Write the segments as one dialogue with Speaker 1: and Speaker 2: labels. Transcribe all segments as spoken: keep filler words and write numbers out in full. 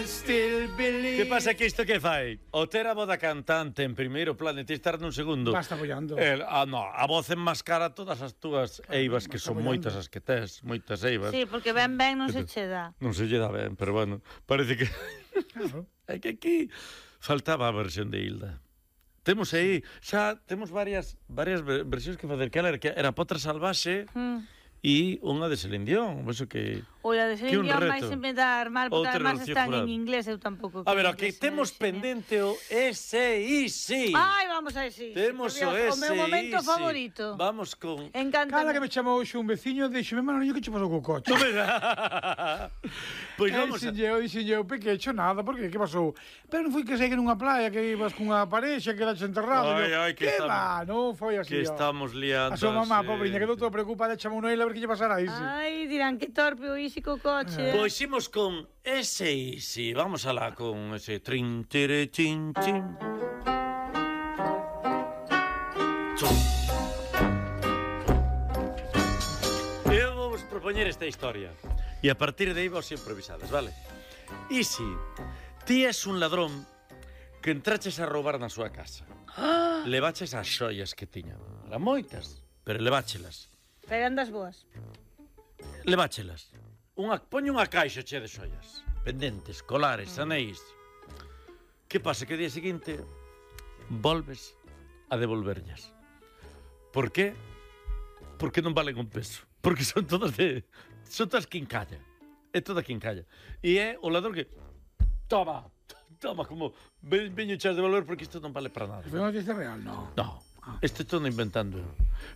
Speaker 1: Que pasa que isto que fai? O ter a voz da cantante en primeiro plano e ti estar nun segundo.
Speaker 2: Basta apoiando.
Speaker 1: El, ah, no, a voz enmascara todas as túas eivas, que son moitas as que tes, moitas eivas.
Speaker 3: Sí, porque ben ben non se che dá.
Speaker 1: Non se lle dá ben, pero bueno, parece que...
Speaker 2: Claro.
Speaker 1: É que aquí faltaba a versión de Hilda. Temos aí, xa temos varias varias versións que facer, que era, que era Potra Salvaxe, mm. e unha de Celine Dion, eso que...
Speaker 3: O la de Celine Dion vai sempre dar mal, porque
Speaker 1: Outra
Speaker 3: además están
Speaker 1: jurado.
Speaker 3: en inglés, eu tampouco...
Speaker 1: A ver, o que temos pendente o S I C.
Speaker 3: Ai, vamos a ese.
Speaker 1: Temos o S I C.
Speaker 3: O meu momento favorito.
Speaker 1: Vamos con...
Speaker 3: Encanta.
Speaker 2: Cala que me chamou hoxe un veciño, díxeme, Manolillo, que che pasou co coche?
Speaker 1: Pois vamos a...
Speaker 2: Eu dixen eu, que hecho nada, porque que pasou? Pero non foi que segue nunha playa, que ibas cunha parexa, que eras enterrado.
Speaker 1: Ai, ai, que
Speaker 2: que
Speaker 1: estamos...
Speaker 2: va, non foi así.
Speaker 1: Que estamos liando.
Speaker 2: A súa mamá, pobriña, quedou todo preocupada, chamou Noel a ver que lle pasara a Isi.
Speaker 3: Ai, dirán que torpe o Isi co coche.
Speaker 1: Pois imos con S I C. Vamos alá con ese trin, tere, chin, chin. Chum. Eu vou vos propoñer esta historia. E a partir de aí vos improvisadas, vale? Isi, ti és un ladrón que entraches a roubar na súa casa. Levaches as xoias que tiña. Eran moitas, pero leváchelas.
Speaker 3: Pero andas boas.
Speaker 1: Leváchelas. Unha, poñe unha caixa chea de xoias. Pendentes, colares, anéis. Que pasa? Que o día seguinte volves a devolverllas. Por qué? Porque non valen un peso. Porque son todas de... Son todas quincalla. É toda quincalla. E é o ladrón que... Toma, toma, como... Veño chas de volver porque isto non vale para nada.
Speaker 2: Foi unha noticia real, non?
Speaker 1: No. Isto estou inventando.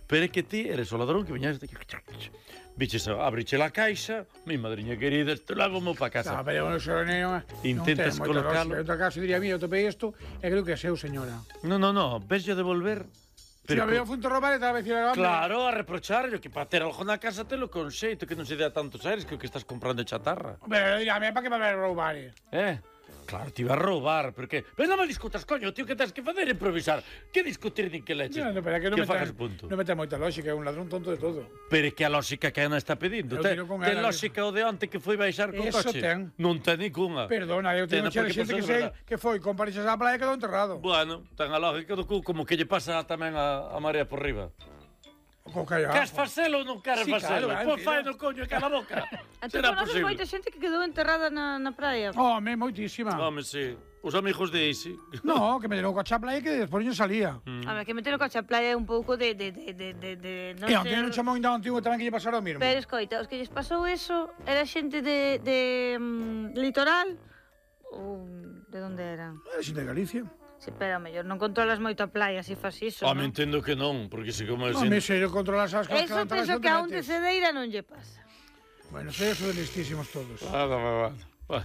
Speaker 1: Pero é que ti eres o ladrón que viñas de... Biches, abriche la caixa, mi madriña querida, isto levo-mo para casa.
Speaker 2: No, pero non sei, non,
Speaker 1: intentas
Speaker 2: non
Speaker 1: colocarlo.
Speaker 2: En outro caso diría, mira, eu topei isto e creo que é seu, señora.
Speaker 1: No, no, no, ves yo devolver.
Speaker 2: Pero si a mí funto robar e tal vez ir a
Speaker 1: claro, a reprocharlo, que para ter algo na casa te lo con xeito, que non se dea tantos aires que o que estás comprando chatarra.
Speaker 2: Pero dirá, mira, para que me vai roubar?
Speaker 1: Eh? Claro, te iba a roubar, porque... Pero non me discutas, coño, tío, que tens que facer improvisar. Que discutir nin que leches?
Speaker 2: No, no, pero é que non me
Speaker 1: fagas punto.
Speaker 2: Non me ten moita lógica, é un ladrón tonto de todo.
Speaker 1: Pero é que a lógica que Ana está pedindo. Ten, ten lógica o de onte que foi baixar co
Speaker 2: Eso
Speaker 1: coche.
Speaker 2: ten.
Speaker 1: Non ten ninguna.
Speaker 2: Perdona, eu teño xa xente que sei que foi con parexas á playa e quedou enterrado.
Speaker 1: Bueno, ten a lógica do cu, como que lle pasa tamén a, a María por riba. Queres facelo ou non queres
Speaker 2: sí,
Speaker 1: facelo?
Speaker 2: Claro,
Speaker 1: pois fai no coño, cala a boca.
Speaker 3: Entón conoces moita xente que quedou enterrada na, na praia.
Speaker 2: Home, moitísima.
Speaker 1: Home, sí. Os amigos de Isi.
Speaker 2: No, que me deron o coche a playa e que despois non salía.
Speaker 3: Mm. A ver, que meter o coche a playa é un pouco de... de, de, de, de, de non
Speaker 2: e onte non chamou ainda antigo tamén que lle pasara o mesmo.
Speaker 3: Pero escoita, os que lles pasou eso era xente de, de um, litoral ou de onde eran?
Speaker 2: Era xente de Galicia.
Speaker 3: Sí, pero mellor non controlas moito a playa se fas iso,
Speaker 1: non?
Speaker 3: non?
Speaker 1: Entendo que non, porque se como...
Speaker 2: Non, me se controlas as cosas...
Speaker 3: Eso penso que a un de Cedeira non lle pasa.
Speaker 2: Bueno, sei eso de listísimos todos.
Speaker 1: Ah, va, va, va.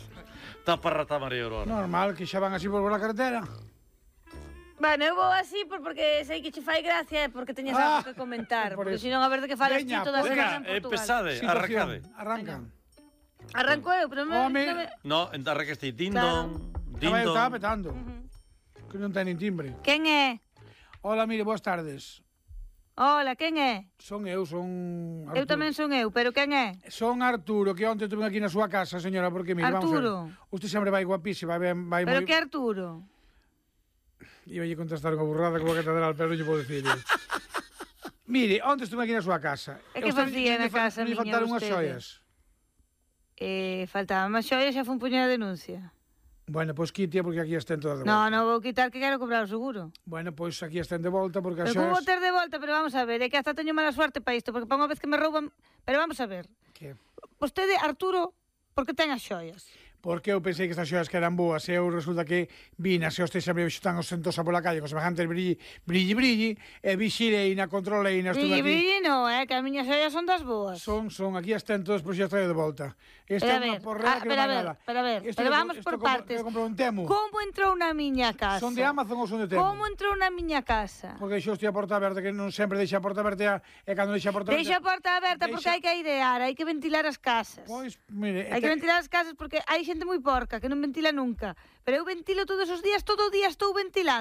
Speaker 1: Está para rata María Aurora.
Speaker 2: Normal, que xa van así por la carretera.
Speaker 3: Bueno, eu vou así porque sei que che fai gracia e porque teñes ah, algo que comentar. Porque senón a ver de que falas ti todas as
Speaker 1: veña,
Speaker 3: en Portugal.
Speaker 1: Empezade, arrancade.
Speaker 2: Arrancan.
Speaker 3: Arranco eu, pero...
Speaker 2: Home.
Speaker 1: No, arrancaste dindon, dindon.
Speaker 2: Eu estaba petando. Que non ten nin timbre.
Speaker 3: Quen é?
Speaker 2: Hola, mire, boas tardes.
Speaker 3: Hola, quen é?
Speaker 2: Son eu, son Arturo.
Speaker 3: Eu tamén son eu, pero quen é?
Speaker 2: Son Arturo, que onte tuve aquí na súa casa, señora, porque mire,
Speaker 3: Arturo.
Speaker 2: vamos a ver. Usted sempre vai guapísima, vai, vai
Speaker 3: pero
Speaker 2: moi...
Speaker 3: que Arturo?
Speaker 2: Iba a contestar unha burrada como a catedral, pero non lle podo dicir. Mire, onte estuve aquí na súa casa.
Speaker 3: E que facía na casa, miña,
Speaker 2: me faltaron unhas xoias.
Speaker 3: Eh, faltaban máis xoias, xa foi un puño de denuncia.
Speaker 2: Bueno, pois pues, quitia porque aquí estén todas de volta.
Speaker 3: No, non vou quitar que quero cobrar o seguro.
Speaker 2: Bueno, pois pues, aquí estén de volta porque as
Speaker 3: xoias... Pero como ter de volta, pero vamos a ver, é que hasta teño mala suerte para isto, porque para unha vez que me rouban... Pero vamos a ver.
Speaker 2: Que?
Speaker 3: Vostede, Arturo, por que ten as xoias?
Speaker 2: Porque eu pensei que estas xoias que eran boas e eu resulta que vina se os teis sempre están os sentosa pola calle con semejantes brilli, brilli, brilli e vixirei na controlei na
Speaker 3: estuve aquí. Brilli, brilli, no, eh, que as miñas xoias son das boas.
Speaker 2: Son, son, aquí estén todos por xa traio de volta. Esta é unha porrera que non vai nada.
Speaker 3: Pero a ver, pero vamos por partes. Como entrou na miña casa?
Speaker 2: Son de Amazon ou son de Temu?
Speaker 3: Como entrou na miña casa?
Speaker 2: Porque deixou a porta aberta, que non sempre deixa a porta aberta e cando deixa a porta aberta...
Speaker 3: Deixa a porta aberta porque hai que airear, hai que ventilar as casas.
Speaker 2: Pois, mire...
Speaker 3: Hai que ventilar as casas porque hai xente moi porca que non ventila nunca. Pero eu ventilo todos os días, todo o día estou ventilando.